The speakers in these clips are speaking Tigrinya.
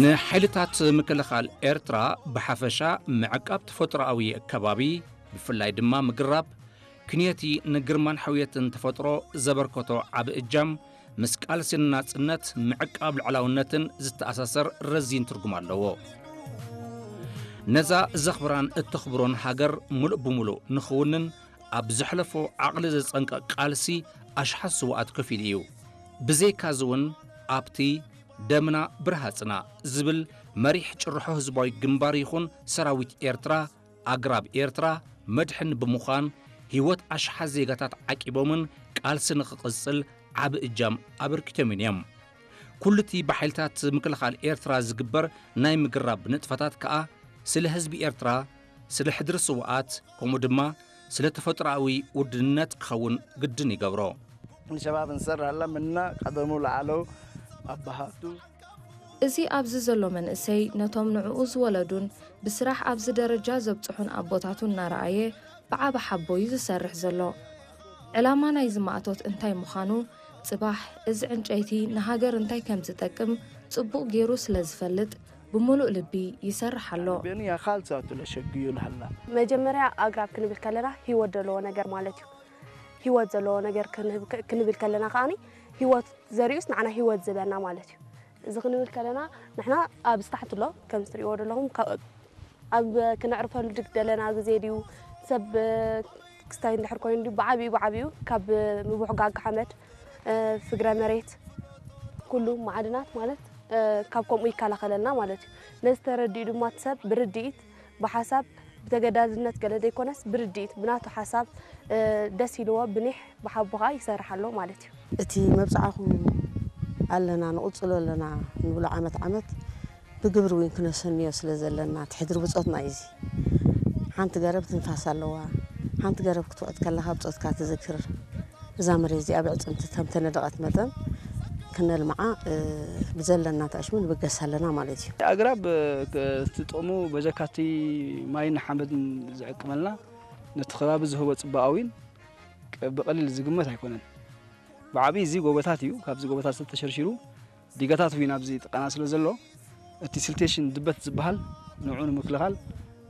ንሓይልታት ምክልኻል ኤርትራ ብሓፈሻ ምዕቃብ ተፈጥሮኣዊ ከባቢ፣ ብፍላይ ድማ ምግራብ፣ ክንየቲ ንግርማን ሕውየትን ተፈጥሮ ዘበርከቶ ዓቢ እጃም፣ ምስ ቃልሲ ንናጽነት ምዕቃብ ልዕላውነትን ዝተኣሳሰር ረዚን ትርጉም ኣለዎ። ነዛ ዘኽብራን እተኽብሮን ሃገር ምሉእ ብምሉእ ንኽውንን ኣብ ዘሕለፎ ዓቕሊ ዘጸንቅቕ ቃልሲ ኣሽሓት ስውኣት ከፊሉ እዩ። ብዘይካዚ እውን ኣብቲ ደምና ብርሃጽና ዝብል መሪሕ ጭርሖ ህዝባዊ ግንባር ይኹን ሰራዊት ኤርትራ ኣግራብ ኤርትራ መድሕን ብምዃን ህይወት ኣሽሓት ዜጋታት ዓቂቦምን ቃልሲ ንኽቕጽል ዓቢ እጃም ኣበርኪቶምን እዮም። ኩሉቲ ብሓይልታት ምክልኻል ኤርትራ ዝግበር ናይ ምግራብ ንጥፈታት ከኣ ስለ ህዝቢ ኤርትራ፣ ስለ ሕድሪ ስውኣት፣ ከምኡ ድማ ስለ ተፈጥሮኣዊ ውድነት ክኸውን ግድን ይገብሮ። ንሸባብ እንሰራላ ምና ቀደሙ ለዓለው ኣባሃቱ እዚ ኣብዚ ዘሎ መንእሰይ ነቶም ንዕኡ ዝወለዱን ብስራሕ ኣብዚ ደረጃ ዘብጽሑን ኣቦታቱ እናረኣየ ብዓቢ ሓቦ እዩ ዝሰርሕ ዘሎ። ዕላማ ናይዚ ማእቶት እንታይ ምዃኑ፣ ጽባሕ እዚ ዕንጨይቲ ንሃገር እንታይ ከም ዝጠቅም ጽቡቕ ገይሩ ስለ ዝፈልጥ ብምሉእ ልቢ ይሰርሕ ኣሎ። ቤንያ ካልሳቱ ለሸግዩ ለሃላ መጀመርያ ኣግራብ ክንብል ከለና ህይወት ዘለዎ ነገር ማለት እዩ። ህይወት ዘለዎ ነገር ክንብል ከለና ከዓኒ ህይወት ዘሪኡስ ንዓና ህይወት ዝህበና ማለት እዩ። እዚ ክንብል ከለና ንሕና ኣብ ስታሕት ኣሎ ከም ትሪእዎ ዘለኹም ኣብ ክነዕርፈሉ ድግ ደለና ግዜ ድዩ ሰብ ክስታይ እንድሕር ኮይኑ ድዩ ብዓብዩ ብዓብዩ ካብ ምቡሕጋግ ሓመድ ፍግረ መሬት ኩሉ ማዕድናት ማለት ካብ ከምኡ ይከላኸለልና ማለት እዩ። ነዚ ተረዲኡ ድማ እቲ ሰብ ብርድኢት ብሓሳብ ብተገዳዝነት ገለ ዘይኮነስ ብርድኢት ብናቱ ሓሳብ ደስ ኢልዎ ብኒሕ ብሓቦ ከዓ ይሰርሕ ኣሎ ማለት እዩ። እቲ መብፅዓኹም ኣለና ንቕፅሎ ኣለና ንብሎ ዓመት ዓመት ብግብሪ እውን ክነሰንዮ ስለ ዘለና እቲ ሕድሪ ብፆትና እዩ። እዚ ሓንቲ ገረብ ትንፋስ ኣለዋ። ሓንቲ ገረብ ክትውዕድ ከለኻ ብፆትካ ትዝክር። እዛ መሬት እዚኣ ብዕፅምቲ ከም ተነደቐት መጠን ክነልምዓ ብዘለና ተኣሽሙ ንብገስ ኣለና ማለት እዩ። ኣግራብ እቲ ጥቕሙ በጀካቲ ማይን ሓመድን ዝዕቅመልና ነቲ ከባቢ ዝህቦ ፅባቐ እውን ብቐሊል ዝግመት ኣይኮነን። ብዓብዪ እዚ ጎቦታት እዩ። ካብዚ ጎቦታት ዝተሸርሺሩ ዲጋታት እውን ኣብዚ ጥቃና ስለ ዘሎ እቲ ሲልቴሽን ድበት ዝበሃል ንዑ ንምክልኻል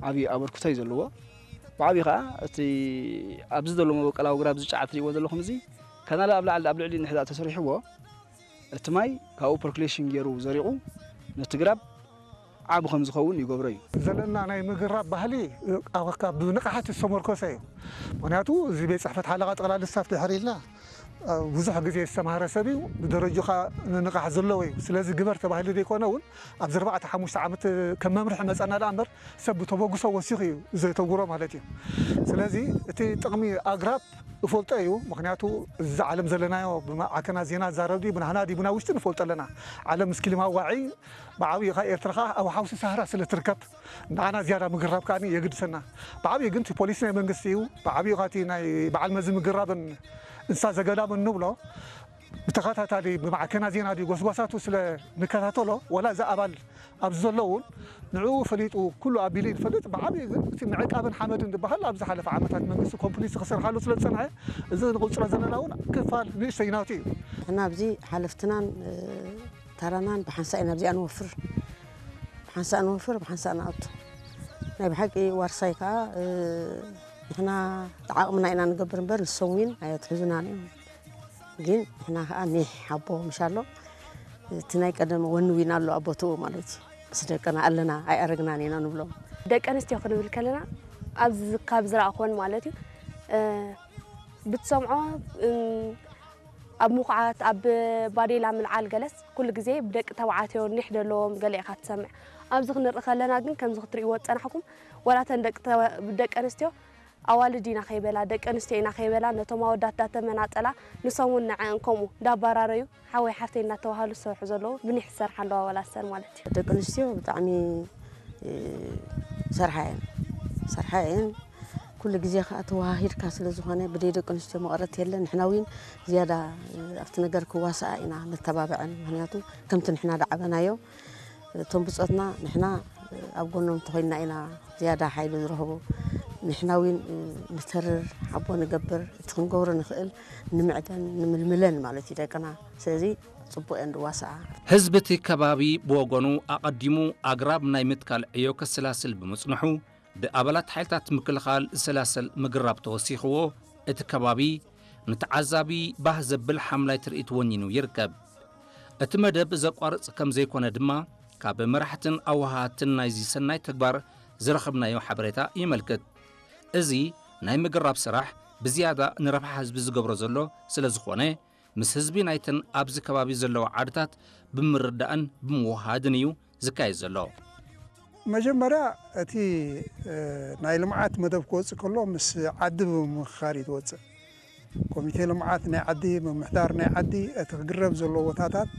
ዓብዪ ኣበርክቶ እዩ ዘለዎ። ብዓብዪ ከዓ እቲ ኣብዚ ዘሎ መበቀላዊ ግራብ ዝጫዓ ትሪእዎ ዘለኹም እዚ ከናለ ኣብ ላዕሊ ኣብ ልዕሊ ንሕዳ ተሰሪሕዎ እቲ ማይ ካብኡ ፐርኩሌሽን ገይሩ ዘሪቑ ነቲ ግራብ ዓቢ ከም ዝኸውን ይገብሮ እዩ። ዘለና ናይ ምግራብ ባህሊ ብንቕሓት ዝተመርኮሰ እዩ። ምክንያቱ እዚ ቤት ፅሕፈት ሓለቓ ጠቕላሊ ስታፍ ድሕር ኢልና ብዙሕ ግዜ ዝተማህረ ሰብ እዩ። ብደረጁ ከዓ ንቕሓት ዘለዎ እዩ። ስለዚ ግበር ተባሂሉ ዘይኮነ እውን ኣብዚ ኣርባዕተ ሓሙሽተ ዓመት ከም መምርሒ መፀና ደኣ እምበር ሰብ ብተበግሶ ወሲኹ እዩ ዘተግብሮ ማለት እዩ። ስለዚ እቲ ጥቕሚ ኣግራብ እፈልጦ እዩ። ምክንያቱ እዚ ዓለም ዘለናዮ ብማዕከናት ዜና ዝዛረብ ድዩ ብናህና ድዩ ብና ውሽጢ ንፈልጦ ኣለና። ዓለም ምስ ክሊማ ዋዒ ብዓብዩ ካ ኤርትራ ካ ኣብ ሓውሲ ሳህራ ስለ ትርከብ ንዓና ዝያዳ ምግራብ ከኣ የግድሰና። ብዓብዩ ግን እቲ ፖሊሲ ናይ መንግስቲ እዩ። ብዓብዩ ካ እቲ ናይ በዓል መዚ ምግራብን እንስሳ ዘገዳምን ንብሎ ብተኸታታሊ ብማዕከናት ዜና ድዩ ጎስጓሳቱ ስለ ንከታተሎ ወላ እዚ ኣባል ኣብዚ ዘሎ እውን ንዕኡ ፈሊጡ ኩሉ ኣቢሉ ይፈልጥ። ብዓብዩ ግን እቲ ምዕቃብን ሓመድን ዝበሃል ኣብ ዝሓለፈ ዓመታት መንግስቲ ኮምፕሊት ክሰርሓሉ ስለ ዝጸንሐ እዚ ንቕጽሎ ዘለና እውን ክፋል ንእሽተይ ናቱ እዩ። ንሕና ኣብዚ ሓለፍትናን ተራናን ብሓንሳእ ኢና ኣብዚኣ ንወፍር። ብሓንሳእ ንወፍር ብሓንሳእ ንኣቱ። ናይ ብሓቂ ዋርሳይ ከዓ ንሕና ተዓቕምና ኢና ንገብር እምበር ንሶም ዊን ኣየትሕዙናን እዮም። ግን ንሕና ከዓ ኒሕ ሓቦ ምሽ ኣሎ እቲ ናይ ቀደም ወኒ ዊን ኣሎ ኣብ ቦትኡ ማለት እዩ። ምስ ደቅና ኣለና ኣይኣረግናን ኢና ንብሎም። ደቂ ኣንስትዮ ክንብል ከለና ኣብዚ ካብ ዝረኣኹወን ማለት እዩ ብትሰምዖ ኣብ ምኹዓት ኣብ ባዴላ ምልዓል ገለስ ኩሉ ግዜ ብደቂ ተባዕትዮ ኒሕ ዘለዎም ገለ ኢኻ ትሰምዕ። ኣብዚ ክንርኢ ከለና ግን ከምዚ ክትርእይዎ ዝጸናሕኩም ዋላ እተን ደቂ ኣንስትዮ ኣዋልድ ኢና ከይበላ ደቂ ኣንስትዮ ኢና ከይበላ ነቶም ኣወዳት ዳተመናጠላ ንሶም እውን ንዐአን ከምኡ እንዳባራረዩ ሓወይ ሓፍተይ እናተባሃሉ ዝሰርሑ ዘለዉ ብኒሕ ዝሰርሓ ኣለዋ ዋላ ሰን ማለት እዩ። ደቂ ኣንስትዮ ብጣዕሚ ሰርሓ እየን ሰርሓ እየን ኩሉ ግዜ ከዓ ተወሃሂድካ ስለ ዝኾነ ብደይ ደቂ ኣንስትዮ መቐረት የለን ንሕና እውን ዝያዳ ኣብቲ ነገር ክዋስኣ ኢና ነተባብዐን ምክንያቱ ከምቲ ንሕና ዳዓበናዮ እቶም ብፆትና ንሕና ኣብ ጎኖም ተኾይንና ኢና ዝያዳ ሓይሊ ዝረኽቡ። ንሕና እውን ንተርር፣ ሓቦ ንገብር፣ እቲ ክንገብሮ ንኽእል ንምዕደን ንምልምለን ማለት እዩ ደቅና። ስለዚ ጽቡቕ እየን ዝዋስኣ። ህዝቢ እቲ ከባቢ ብወገኑ ኣቐዲሙ ኣግራብ ናይ ምትካል ዕዮ ከሰላስል ብምጽንሑ፣ ብኣባላት ሓይልታት ምክልኻል ዝሰላሰል ምግራብ ተወሲኽዎ፣ እቲ ከባቢ ንተዓዛቢ ባህ ዘብል ሓምላይ ትርኢት ወኒኑ ይርከብ። እቲ መደብ ዘቋርጽ ከም ዘይኮነ ድማ ካብ መራሕትን ኣወሃሃድትን ናይዚ ሰናይ ተግባር ዝረኸብናዮ ሓበሬታ የመልክት። እዚ ናይ ምግራብ ስራሕ ብዝያዳ ንረብሓ ህዝቢ ዝገብሮ ዘሎ ስለ ዝኾነ፣ ምስ ህዝቢ ናይተን ኣብዚ ከባቢ ዘለዋ ዓድታት ብምርዳእን ብምውሃድን እዩ ዝካየድ ዘሎ። መጀመርያ እቲ ናይ ልምዓት መደብ ክወፅእ ከሎ ምስ ዓዲ ብምምኽኻር እዩ ትወፅእ። ኮሚቴ ልምዓት ናይ ዓዲ፣ ምምሕዳር ናይ ዓዲ እቲ ክግረብ ዘለዎ ቦታታት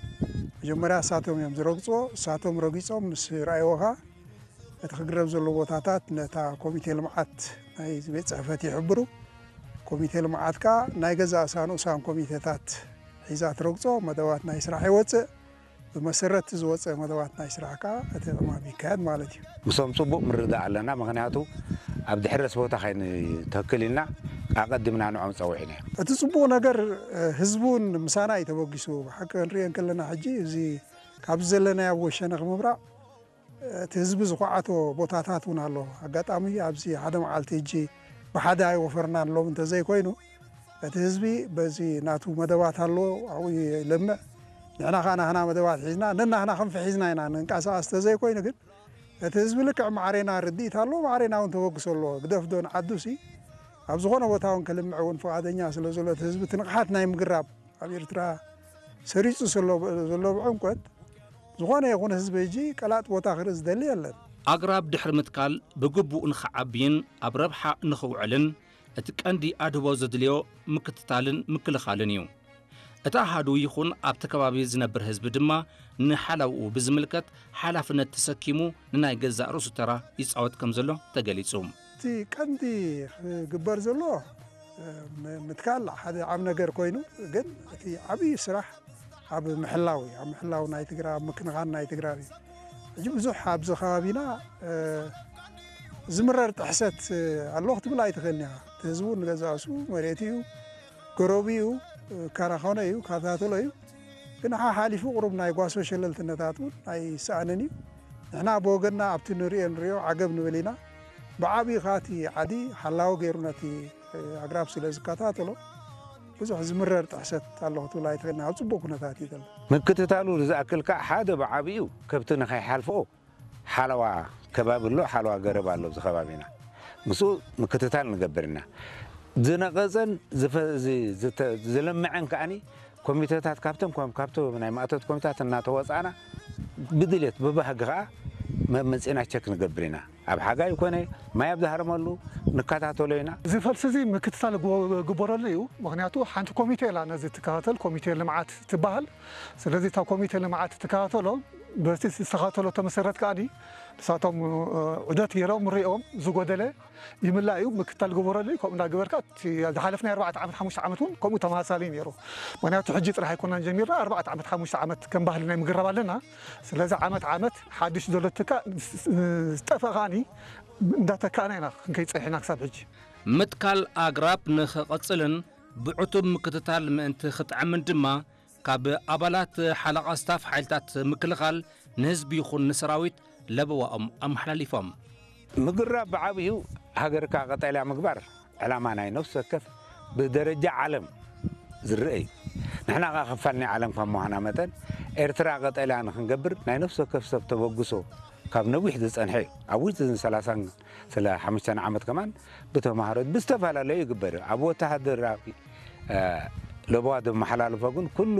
መጀመርያ እሳቶም እዮም ዝረግፅዎ። እሳቶም ረጊፆም ምስ ረኣይዎ ኸዓ እቲ ክግረብ ዘለዎ ቦታታት ነታ ኮሚቴ ልምዓት ናይ ቤት ፅሕፈት ይሕብሩ። ኮሚቴ ልምዓት ከዓ ናይ ገዛእ እሳ ንኡሳን ኮሚቴታት ሒዛ ትረግፆ። መደባት ናይ ስራሕ ይወፅእ። ብመሰረት ዝወፀ መደባት ናይ ስራሕ ከዓ እቲ ዕማም ይካየድ ማለት እዩ። ምሶም ፅቡቕ ምርዳእ ኣለና። ምክንያቱ ኣብ ድሕረስ ቦታ ከይንተክል ኢልና ኣቐዲምና ንዖም ፀዊዕና። እቲ ፅቡቕ ነገር ህዝቢ እውን ምሳና እዩ ተበጊሱ። ብሓቂ ክንሪኦ እንከለና ሕጂ እዚ ካብዚ ዘለናዮ ኣብ ወሸነ ክምብራቕ እቲ ህዝቢ ዝኹዓቶ ቦታታት እውን ኣሎ። ኣጋጣሚ ኣብዚ ሓደ መዓልቲ ሕጂ ብሓደ ኣይወፈርናን ሎም እንተዘይኮይኑ እቲ ህዝቢ በዚ ናቱ መደባት ኣሎ ኣብኡ ይለምዕ። ንሕና ከዓ ናህና መደባት ሒዝና ነናህና ክንፊ ሒዝና ኢና ንንቀሳቐስ ተዘይኮይኑ ግን እቲ ህዝቢ ልክዕ ማዕሬና ርድኢት ኣሎ። ማዕሬና እውን ተበግሶ ኣለዎ። ግደፍ ዶ ንዓዱ ሲ ኣብ ዝኾነ ቦታ እውን ከልምዕ እውን ፍቓደኛ ስለ ዘሎ እቲ ህዝቢ እቲ ንቕሓት ናይ ምግራብ ኣብ ኤርትራ ሰሪጹ ዘሎ ዘሎ ብዕምቆት ዝኾነ ይኹን ህዝቢ ሕጂ ቀላጥ ቦታ ክርኢ ዝደሊ የለን። ኣግራብ ድሕሪ ምትካል ብግቡእ ንኽዓብይን ኣብ ረብሓ ንኽውዕልን እቲ ቀንዲ ኣድህቦ ዘድልዮ ምክትታልን ምክልኻልን እዩ። እቲ ኣሃዱ ይኹን ኣብቲ ከባቢ ዝነብር ህዝቢ ድማ ንሓላውኡ ብዝምልከት ሓላፍነት ተሰኪሙ ንናይ ገዛእ ርእሱ ተራ ይጻወት ከም ዘሎ ተገሊጹ። እቲ ቀንዲ ክግበር ዘሎ ምትካል ሓደ ዓብ ነገር ኮይኑ ግን እቲ ዓብዪ ስራሕ ኣብ ምሕላው እዩ። ኣብ ምሕላው ናይ ትግራይ ኣብ ምክንኻን ናይ ትግራይ እዩ። ሕጂ ብዙሕ ኣብዚ ከባቢና ዝምረር ጥሕሰት ኣሎ ክትብል ኣይትኽእልን ኢኻ። እቲ ህዝቡ ንገዛእሱ መሬት እዩ ገረቡ እዩ ካራኸኖ እዩ ካታተሎ እዩ። ግን ሓሓሊፉ ቁሩብ ናይ ጓሶ ሸለልትነታት እውን ኣይሰኣንን እዩ። ንሕና ብወገንና ኣብቲ ንሪኦ ንሪኦ ዓገብ ንብል ኢና። ብዓብዪ ኻቲ ዓዲ ሓላዊ ገይሩ ነቲ ኣግራብ ስለ ዝከታተሎ ብዙሕ ዝምረር ጥሕሰት ኣሎ ክትብል ኣይትኽእልን ኣብ ፅቡቅ ኩነታት እዩ ዘሎ። ምክትታሉ ዝኣክል ከዓ ሓደ ብዓብዩ ከብቲ ንኸይሓልፍኦ ሓለዋ ከባቢ ኣሎ፣ ሓለዋ ገረብ ኣሎ ኣብዚ ከባቢና። ምስኡ ምክትታል ንገብር ኢና። ዝነቐጸን ዝፈ- ዝ- ዝተ- ዝለምዐን ከዓኒ ኮሚቴታት ካብቶም ከም- ካብቶም ናይ ማእቶት ኮሚታት እናተወፃእና ብድሌት ብባህጊ ከዓ መ- መፂና ቸክ ንገብር ኢና። ኣብ ሓጋይ ኮነ ማይ ኣብ ዝሃረመሉ ንከታተሎ ኢና። እዚ ፈልሲ እዚ ምክትታል ግበረሉ እዩ። ምክንያቱ ሓንቲ ኮሚቴ ኢላ ነዚ ትከታተል፣ ኮሚቴ ልምዓት ትበሃል። ስለዚ እታ ኮሚቴ ልምዓት ትከታተሎ፣ በቲ ዝተኸታተሎ ተመሰረት ከኣ ንሳቶም ዑደት ገይሮም ሪኦም ዝጎደለ ይምላእ እዩ። ምክትታል ግበረሉ እዩ። ከምኡ እንዳገበርካ እቲ ዝሓለፍናይ ኣርባዕተ ዓመት ሓሙሽተ ዓመት እውን ከምኡ ተመሳሳሊ እዩ ነይሩ። ምክንያቱ ሕጂ ጥራሕ ኣይኮናን ጀሚርና፣ ኣርባዕተ ዓመት ሓሙሽተ ዓመት ከም ባህሊ ናይ ምግራብ ኣለና። ስለዚ ዓመት ዓመት ሓድሽ ዘሎ ትካ ዝጠፈእ ከኣኒ እንዳተካእና ኢና ክንከይድ ጸኒሕና ክሳብ ሕጂ። ምትካል ኣግራብ ንኽቕጽልን ብዕቱብ ምክትታል ምእንቲ ክጥዕምን ድማ ካብ ኣባላት ሓለቓ ስታፍ ሓይልታት ምክልኻል ንህዝቢ ይኹን ንሰራዊት ለበዋኦም ኣመሓላሊፎም። ምግራብ ብዓብዩ ሃገርካ ቀጠልያ ምግባር ዕላማ ናይ ነፍሲ ወከፍ ብደረጃ ዓለም ዝረአ እዩ። ንሕና ኸዓ ክፋል ናይ ዓለም ከም ምዃና መጠን ኤርትራ ቀጠልያ ንክንገብር ናይ ነፍሲ ወከፍ ሰብ ተበግሶ ካብ ነዊሕ ዝጸንሐ እዩ። ኣብ ውሽጢ እዝን ሰላሳን ስለ ሓሙሽተን ዓመት ከማን ብተምሃሮ ብዝተፈላለዩ ይግበር እዩ። ኣብ ወተሃደራዊ ለበዋ ዘመሓላልፎ ግን ኩሉ